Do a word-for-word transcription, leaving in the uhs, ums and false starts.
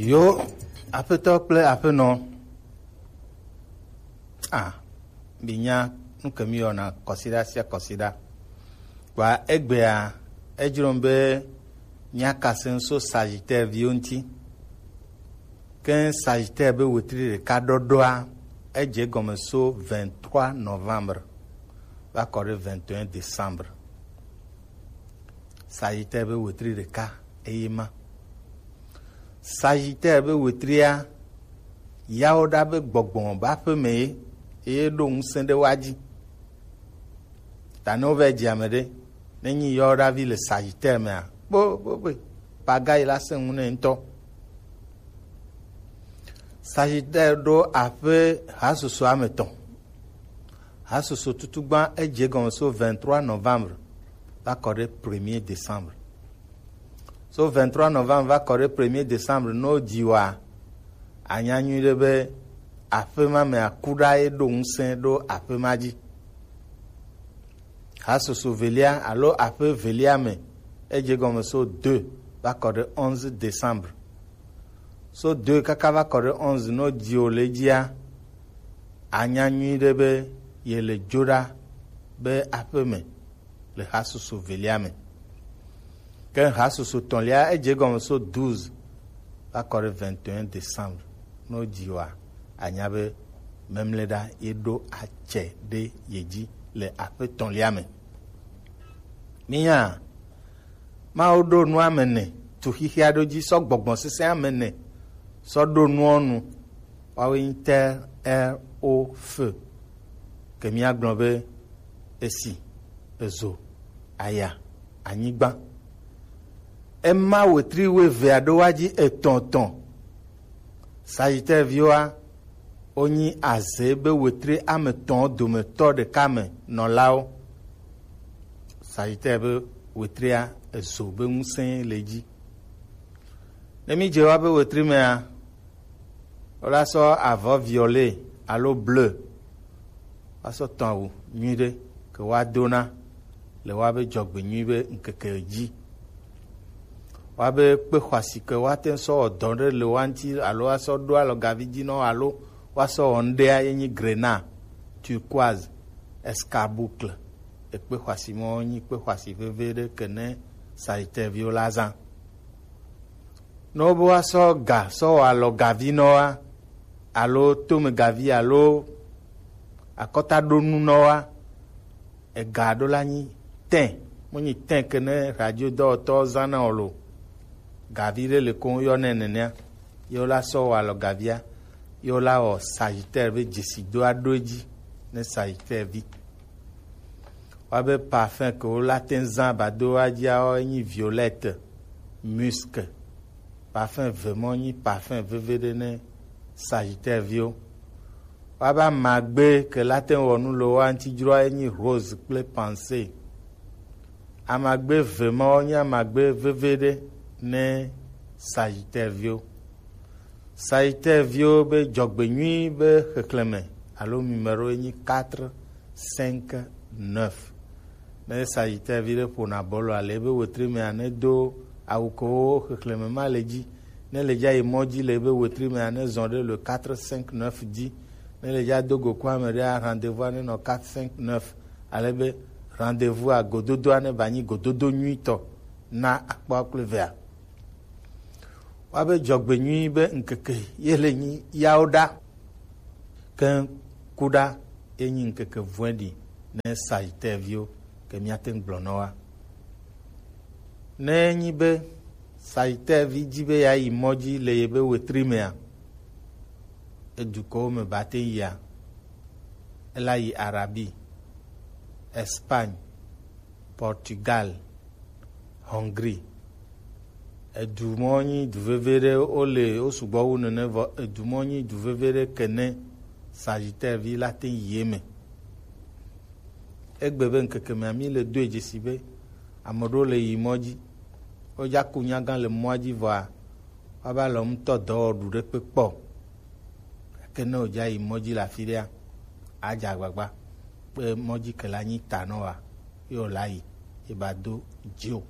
Yo, aƒetɔ kple aƒenɔ. Ah, minya nu ke mi yɔna kɔsiɖa sia kɔsiɖa. Kpa egbea, edzrom be míakase ŋu so Sagittaire viwo ŋuti. Ke Sagittaire be wetri ɖeka ɖɔɖɔa, edze egɔme so vingt-trois novembre va kɔ ɖe vingt et un décembre. Sagittaire be wetri ɖeka eye ma. Sagittaire be wetria, yawo ɖa be gbɔgbɔ be aƒe me ye, eye ɖo ŋusẽ ɖe wa dzi. Ta ne wova dzi ame ɖe, ne nyi yawo ɖa vi le Sagittaire mea, kpo, kpo, kpo, paga yi la sẽ ŋu nɛ ŋutɔ. Sagittaire ɖo aƒe hasoso ame tɔn. Hasoso tutugba edze egɔme so vingt-trois novembre va kɔ ɖe premier décembre. So vingt-trois novembre va kɔ ɖe premier décembre, no dzi wa, anya nyui ɖe be aƒe ma me aku ɖa ye ɖo ŋusẽ ɖo aƒe ma dzi. Hasoso velia alo aƒe velia me, edze egɔme so deux va kɔ ɖe onze décembre. So deux kaka va kɔ ɖe onze, no dzi o le dzia, anya nyui ɖe be ye le dzo ɖa be aƒe me le hasoso velia me. Ke hasoso tɔ̃lia, edze egɔme so douze va kɔ ɖe vingt et un décembre. No dzi wa, anya be memle ɖa ye ɖo atsɛ ɖe ye dzi le aƒe tɔ̃lia me. Minya, Mawu ɖo nu ame ene, tu xixia ɖo dzi sɔ gbɔgbɔ sesẽ ame ene sɔ ɖo nuɔ nu. Woawoe nyi terre, air, eau, feu. Ke míagblɔ be esi, ezo, aya, anyigba. Ema wetri wuievea ɖo wa dzi etɔ̃ etɔ̃. Sagittaire viwoa, wonyi azé be wetri ame etɔ̃ dometɔ ɖeka me nɔlawo. Sagittaire be wetria, ezo be ŋusẽ le edzi. Ne mídze wa be wetri mea, wola sɔ avɔ violet alo bleu woasɔ tɔ̃ awu nyui ɖe ke woadona le woabe dzɔgbenyui be ŋkeke dzi. Woabe kpe xɔasi ke woate ŋu sɔ wɔ dɔ ɖe le woa ŋuti alo woasɔ ɖo alɔgavi dzi nɔ alo woasɔ wɔ ŋɖea ye nyi grenat, turquoise, escarboucle. Ekpe xɔasi mɔ nyi kpe xɔasi veve ɖe ke ne Sagittaire viwo la zã. Ne wobe woasɔ ga sɔ wɔ alɔgavi nɔ wa, alo tomegavi alo akɔtaɖonu nɔ wa, ega ɖo la nyi tin, mo nyi tin ke ne radio dɔwɔtɔ zã na o lo. Gavi ɖe le ko yɔ nɛ nenea, ye wo la sɔ wɔ alɔgavia, ye wo la wɔ Sagittaire be dzesi do aɖo edzi ne Sagittaire vi. Woabe parfum ke wo la te ŋu zã ba do wa dzia, wo enyi violette, musc. Parfum ve mɔ nyi parfum veve ɖe ne Sagittaire viwo. Woabe amagbe ke la te ŋu wɔ nu le woa ŋuti dzroa enyi rose kple pensée. Amagbe ve mawo nye amagbe veve ɖe ne Sagittaire viwo. Sagittaire viwo be dzɔgbenyui be xexlẽme alo numéro ye nyi quatre cinq neuf. Ne Sagittaire vi ɖe ƒona bɔlua le ebe wetri mea, ne do awu kewo xexlẽme ma le dzi. Ne le dza yi mɔ dzi le ebe wetri mea, ne zɔ ɖe le quatre cinq neuf dzi. Ne le dza do go ku ame ɖea, rendez-vous ne nɔ quatre cinq neuf. Ale be rendez-vous a gododoa ne ba nyi gododo nyuitɔ na akpɔ kple vea. Woabe dzɔgbenyui be ŋkeke ye le nyi yawo ɖa. Ke ku ɖa ye nyi ŋkeke vɔ̃ɖi ne Sagittaire viwo ke míate ŋu gblɔ nɔ wa. Ne enyi be Sagittaire vi dzi be yeayi mɔ dzi le yebe wetri mea, edukɔwo me ba te ŋu yia, ela yi Arabie, Espagne, Portugal, Hongrie. Edu mɔ nyi du veve ɖe, wo le, wo sugbɔ wu nene, vɔ edu mɔ nyi du veve ɖe ke ne Sagittaire vi la te yi eme. Egbe be ŋkeke mea, mi le doe dzesi be ame ɖewo le yi mɔ dzi. Wodza ku nyagã le mɔa dzi vɔa, woava le ŋutɔ dɔ wɔ ɖu ɖe kpe kpɔ. Gake ne wòdza yi mɔ dzi le afi ɖea, adze agbagba be mɔ dzi ke la nyi ta nɔ wa, ye wòla yi, ye ba do dzi o.